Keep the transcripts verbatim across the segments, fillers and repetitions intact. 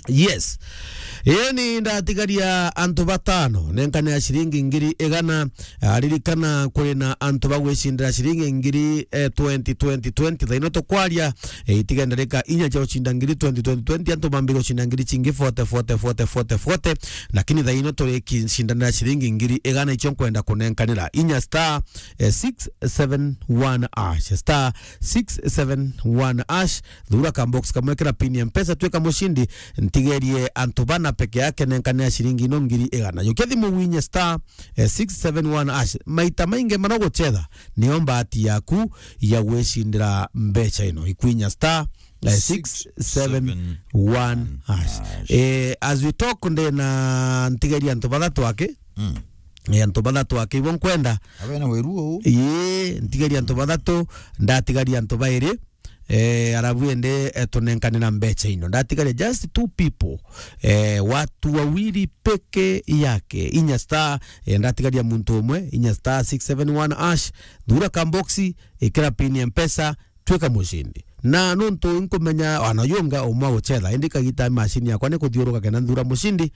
Yes. Ii ni ndatigaria antu batano nenkane ya ciringi ngiri igana. Ah, ririkana kuri na antu bagwicindira ciringi ngiri, eh, twenty, twenty, twenty. Thaino tukwaria, eh, itiga ndarika inya cia gucinda ngiri twenty, twenty, twenty, antu bambire gucinda ngiri cingi forty, forty, forty, forty, forty. Lakini thaino turikicindanira ciringi ngiri igana icio nkwenda kunenkanira. Inya star, eh, six seven one hash. Star six seven one hash. Thura ka box kamwe, kira pin ya Mpesa, twika mucindi, ntigerie antu bana peke yake, nenkane ya ciringi ino ngiri igana. Jukia thimu winye star, eh, six seven one hash. Maita maingi mara guchetha, niyo mbati yaku ya gwicindira mbecha ino. Ikwinya star, eh, six seven one hash. Eh, as we talk, ndena ntigerie antu bathatu aki. Mm. Eh, antu bathatu aki ibo nkwenda. Abena wiru uu. Ii, ntigerie antu bathatu, ndatigaria antu bairi. Eh, arabu ende, eh, tunenkanira mbecha ino. Ndatigaria just two people. Eh, watu wawili peke yake. Inya star, eh, ndatigaria muntu umwe. Inya star six seven one hash. Thura ka box, ikira pin ya Mpesa, twika mucindi. Na nuntu nkumenya, wana yunga umwe guchetha, indi kagita machine yakwa ni kuthiuruka kenda nthura mucindi,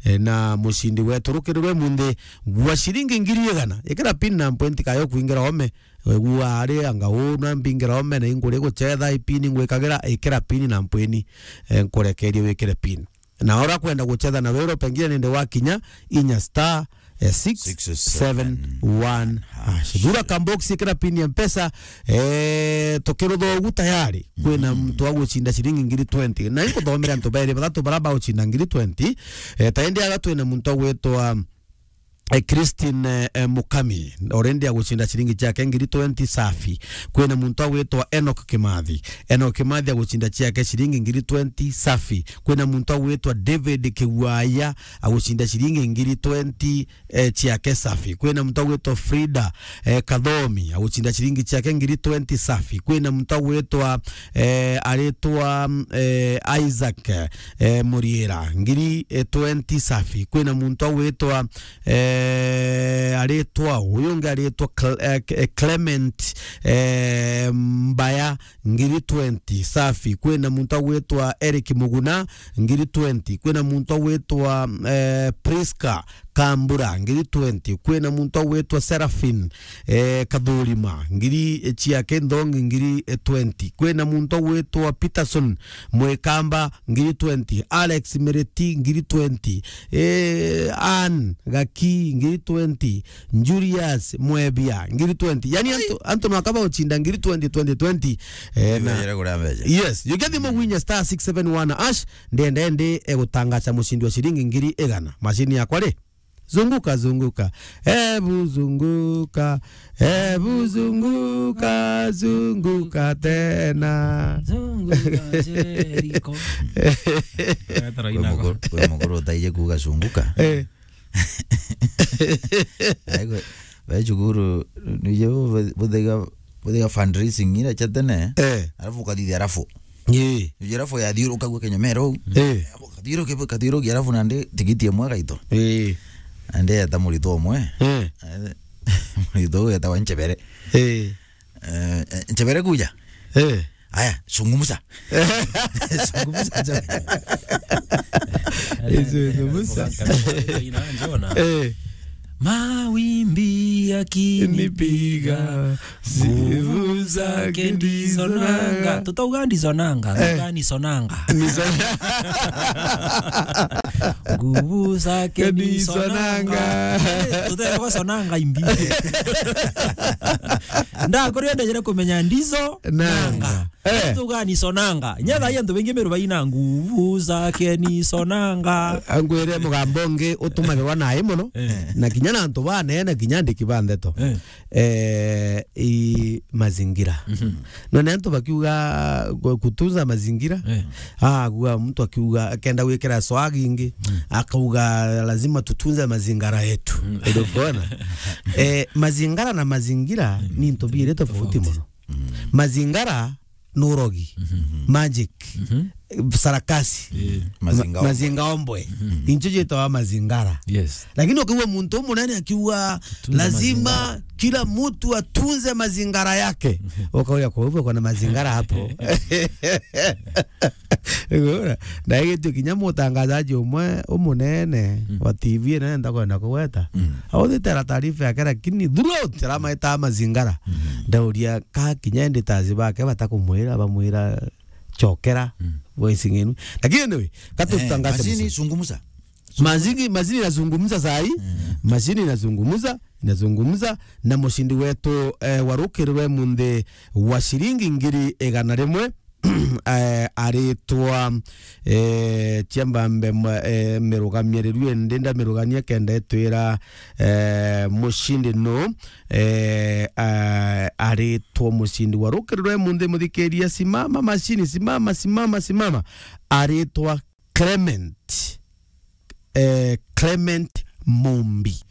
eh, na mucindi wetu rukirirwe munthi bwa ciringi ngiri igana. Ikira pin na mpwenti kayo kuingira ome, wegua ari anga u na mbingira ome na inguri guchetha ipini ngwikagira, ikira pin na mpwini, eh, nkurekerie wikire pin. Na ora kwenda guchetha na wero pengine nende wakinya inya star, eh, six seven one hash. Thura ka box, ikira pin ya Mpesa, eh, tukirutha ugu tayari. Kwina muntu wa gucinda ciringi ngiri twenty. Na inkuthomera antu bairi bathatu bara bagucinda ngiri twenty. Eh, ta indi aga twina muntu wa gwitwa, eh, Christine, eh, eh, Mukami, already agucinda ciringi ciake ngiri twenty safi. Kwina muntu agwitwa Enoch Kimathi. Enoch Kimathi agucinda ciake ciringi ngiri twenty safi. Kwina muntu agwitwa David Kigwaya agucinda ciringi ngiri twenty, eh, ciake safi. Kwina muntu agwitwa Frida, eh, Kathomi agucinda ciringi ciake ngiri twenty safi. Kwina muntu agwitwa, eh, aritwa, eh, Isaac, eh, Muriira, ngiri, eh, twenty safi. Kwina muntu agwitwa, eh, aritwa, uyu ungi aritwa Cle-, eh, Clement, eh, Mbaya, ngiri twenty safi. Kwina muntu agwitwa Eric Muguna, ngiri twenty. Kwina muntu agwitwa, eh, Prisca Kambura, ngiri twenty. Kwina muntu agwitwa Seraphin, eh, Kathurima, ngiri ciake nthongi, ngiri twenty. Kwina muntu agwitwa Peterson Mwikamba, ngiri twenty. Alex Miriti, ngiri twenty. Eh, Ann Gaki, ngiri twenty. Julius Mwebia, ngiri twenty. Yani, antu, antu no akaba ucinda ngiri twenty, twenty, twenty. Eh, na Ibeere kuria mbeca. Yes, you get them winya star six seven one hash, ndende ndi egutangaza mucindi wa ciringi ngiri igana. Machine yakwa ri? Zunguka, zunguka. Ebu zunguka. Ebu zunguka, zunguka tena. Zunguka, Jericho. Kwi mukuru, kwi mukuru utaije kuuga zunguka. Eh. Ai, kwe, we cukuru, nije bu-, bu-, buthega, buthega fundraising ira cha tene. Eh. Alafu ukathithia rafu. Ii. Nije rafu yathiuruka gwa kinyomero. Eh. Kathiuruke, kathiuruke, alafu nandi tigiti imwe gaito. Ii. Nandi eta murito umwe. Eh. Murito uyu etawa Nchebere. Eh. Eh, eh, Nchebere kuja. Eh. Aya, zungumza. Zungumza, Nchebere. Eh, zungumza. Eh. Mawimbi yakinipiga, nguvu zake ndizonanga. Tutauga ndizonanga, eh, tutauga nisonanga. Niso- Nguvu zake ndizonanga. Eh, tutauga sonanga imbi. Ndakuria ndejere kumenya ndizo nanga. Eh. Tuga nisonanga. Nyetha antu baingi Meru baina nguvu zake nisonanga. Angwire mugambo ungi utumagirwa nai muno. Eh. Na kinya na antu banene, kinya andiki ba ndeto. Eh. Eh, i mazingira. Mhm. None antu bakiuga ku-, kutunza mazingira. Eh. Ah, kuga mtu akiuga akenda gwikira swag ingi, mm, akauga lazima tutunze mazingara yetu. Mm. Ndio kuona? Eh, mazingara na mazingira, mm, ni ntu biiri tofauti muno. Mm. Mazingara ni urogi, mhm, magic, mhm, sarakasi, eh, ma-, mazinga ombwe. Mazinga ombwe. Mhm. Incho jitawa mazingara. Yes. Lakini ukiwa muntu munene akiwa, "Tutunze lazima mazingara, kila mtu atunze mazingara yake." Mhm. Ukauya, "Kwa hivyo kuna mazingara hapo?" Igura. Na igitio kinya mutangazaji umwe umunene Mm. wa T V inene ntakwenda kugweta. Mm. Authitera taarifa yake, lakini throughout aramaita mazingara. Mm. Ndauria ka kinya editors bake batakumwira, bamwira, "Chokera, Mm. voice ng'enu." Lakini anyway, katutangaze Eh, machine mzee. Zungumza. Mazini, mazini inazungumza saa hii. Mm. Mazini inazungumza, inazungumza, na mushindi wetu, eh, wa rukiri rwa munthi wa shilingi ngiri igana rimwe, eh, aritwa, eh, Chiambambe mwa-, eh, mirugamiariru indi ndamirugania kenda itwira, eh, mushindi nu, eh, ah, aritwa mushindi wa rukiri rwa munthi, muthikiria, simama mashini, simama, simama, simama. Aritwa Clement, eh, Clement Mumbi.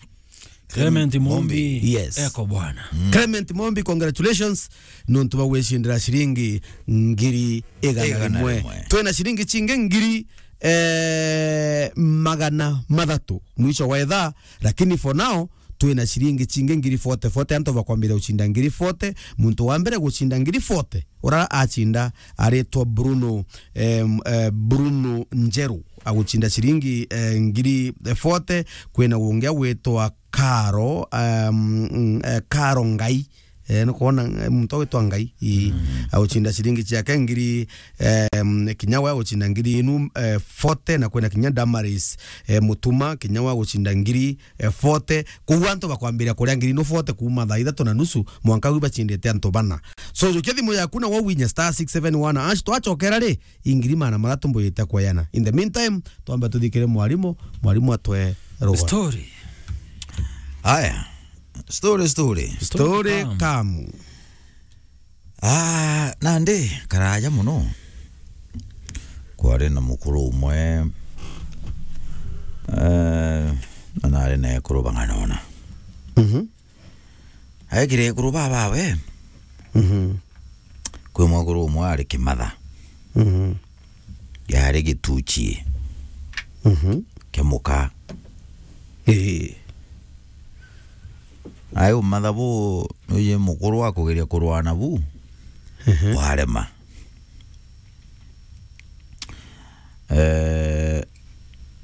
Clement Mumbi. Yes. Eko bwana. Mm. Clement Mumbi, congratulations. Nontu bwa gwicindira ciringi ngiri igana rimwe. Igana rimwe. Twina ciringi cingi ngiri, eh, magana mathatu mwisho wa ithaa, lakini for now, twina ciringi cingi ngiri forty, forty, antu bakwambiria gucinda ngiri forty, muntu wa mbere gucinda ngiri forty, ura acinda aritwa Bruno, em, eh, Bruno Njeru, agucinda ciringi, eh, ngiri forty, kwina ungi agwitwa Karo, em, mm, eh, Karo Ngai, eh, nukwona, eh, muntu agwitwa Ngai, ii, Mm. agucinda ciringi ciake ngiri, em, kinya we agucinda ngiri inu, eh, forty, na kwina kinya Damaris, eh, Mutuma, kinya we agucinda ngiri, eh, forty. Koguo antu bakwambiria kuria ngiri inu forty kuuma thaa ithatu na nusu mwanka wi bacindite antu bana. So, jukia thimu yaku na wauwinya star six seven one hash, twachokera ri, ingiri magana mathatu mbuyite kweyana. In the meantime, twambe tuthikire mwarimu, mwarimu atwe rugoro. Story. Aya. Story, story. Story Story kamu. Kamu. Ah, nandi, karaja muno. Kwari na mukuru umwe, eh, na nari na ekuru bang'ana ona. Mhm. Aikire ekuru babawe. Mhm. Kwi mwekuru umwe ari kimatha. Mhm. Yari gituchi. Mhm. Kia muka. Ii. Ai umatha bu, nuji mukuru wa kugeria kurwana bu, Ehe. warema. Eh,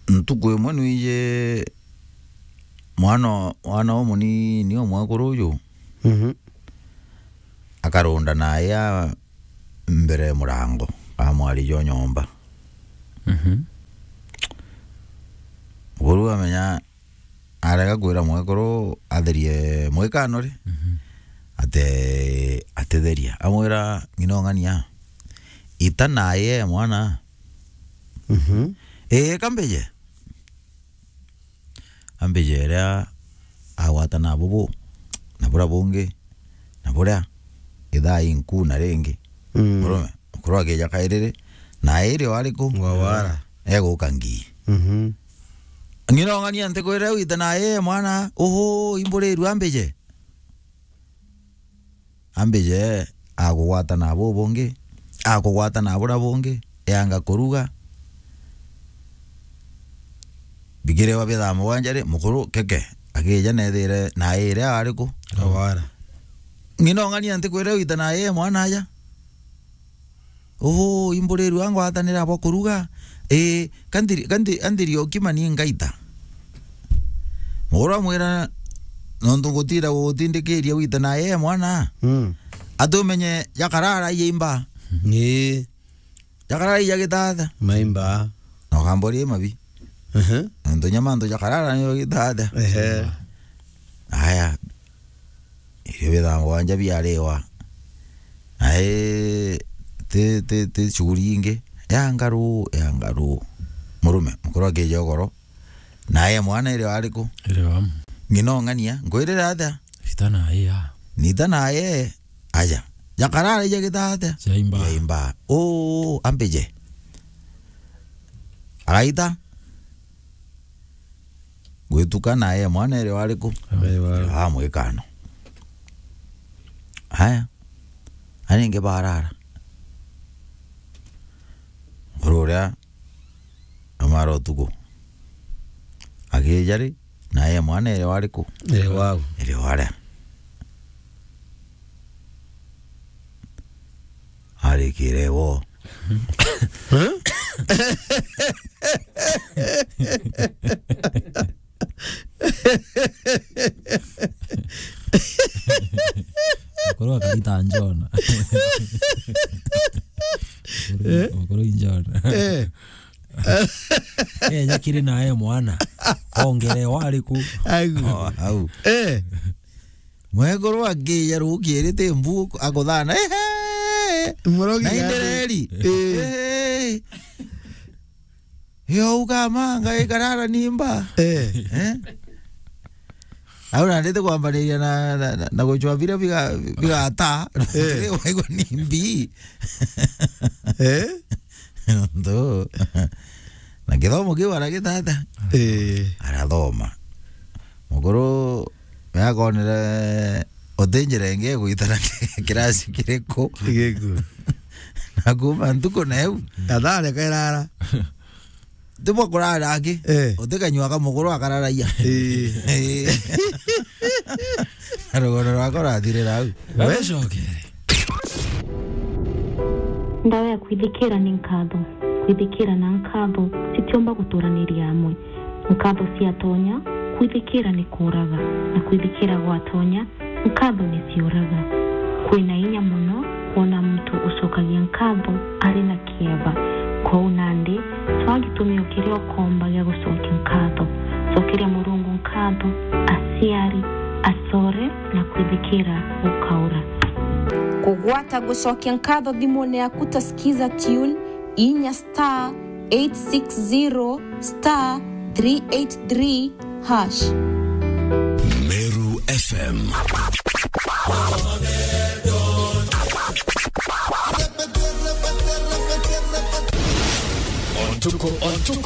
ntuku imwe nuiji mwana, mwana umunini umwekuru uju, Mhm. akarunda na aya mbere ya murango, amwari jo nyomba. Mhm. Mukuru amenya arega kwira mwekuru atherie mwikano ri, Mhm. ate-, atitheria. Amwira, "Ng'ina ung'ania, ita naye mwana." Mhm. "Ii, ka mbije." Ambije iria agwata na bubu, na buria bungi, na buria, ithaa inku na ringi. Mm. Murume, mukuru akija kairiri, na iri o ariku? Ngwawara. Eguka ngii. Mhm. Ng'ina ung'ania ntikwira wite na ii mwana, uhu, imburirua mbije. Ambije, akugwata na bu bungi, akugwata na buria bungi, eanga kuruga. Bikirewa bithaa mugwanja ri, mukuru keke, akija nethire na ii iria ariku? Awara. Ng'ina ung'ania ntikwira wite na ii mwana aja. Uu, imburirua ngwatanira bwa kuruga. Ii, kandiri, kandiri, kandiri okima ni ngaita. Muguru amwira, nontu gutira gutindikiria wite na yeye mwana. Mm. Atumenye jakarara yeimba. Ii. Jakarara ya gitatha. Maimba. Na ukamboria mabi. Ehe. Nontu nyama ntu jakarara niyo gitatha. Ehe. Aya. Irio bithaa mugwanja biariwa. Nae ti, ti, ti shughuli ingi. Ya ngaru, ya ngaru. Murume, mukuru akija ugoro. Nae mwana iri ariku? Iri wa. Ng'ina ung'ania, nkwirira atia? Ita naye ya. Nita naye, aja. Jakarara ija gita atia? Jaimba. Jaimba. Uu, ambije. Agaita. Gwituka naye mwana iri wariku? Iri wa. Iri wa mwikano. Aya. Aringi barara. Mukuru uria amara utuku. Akija ri, naye mwana iri wariku? Iri wau. Iri waria. Arikire wo. Huh? Mukuru akarita njona. Mukuru, eh? Mukuru njona. Eh. Eh, nyakiri naye mwana. Ongere wariku. Aigu. Oh, au. Eh. Mwekuru akija rukiri ti mbu akuthana. Ehe. Murogi na gani? Indereri. Eh. Eh. Yo ukamanga ikarara nimba. Eh. Eh? Au nandite kwambariria na, na, na, na gucwa biria biga-, bigata. Eh. Waigua ni mbi. Eh? Ndo. Na githomo kiu aragitata. Eh. Arathoma. Mukuru yakonere uti njira ingi igwitana kirasi kiriku. Kiriku. Na kuma ntuku na iu. Athare kairara. Tibwa kurara aki. Eh. Utikanyua kamukuru akararaia. Eh. Eh. Na rugoro rwakwa rurathirira au. Wecokere. Ndawa ya kwithikira ni nkatho. Kwithikira na nkatho citiumba guturaniria amwe. Nkatho ciatonya, kwithikira ni kuuraga, na kwithikira gwatonya, nkatho ni ciuraga. Kwina inya mono kwona muntu ucokagia nkatho ari na kieba. Kwou nandi, cwaa gitumio kiria ukomba gia gucokia nkatho. Cokeria Murungu nkatho, aciari, acore, na kwithikira gukaura. Kugwata gucokia nkatho thimune yaku ta Skiza Tune, inya star eight six zero star three eight three hash. Meru F M. Ontuko, ontuko.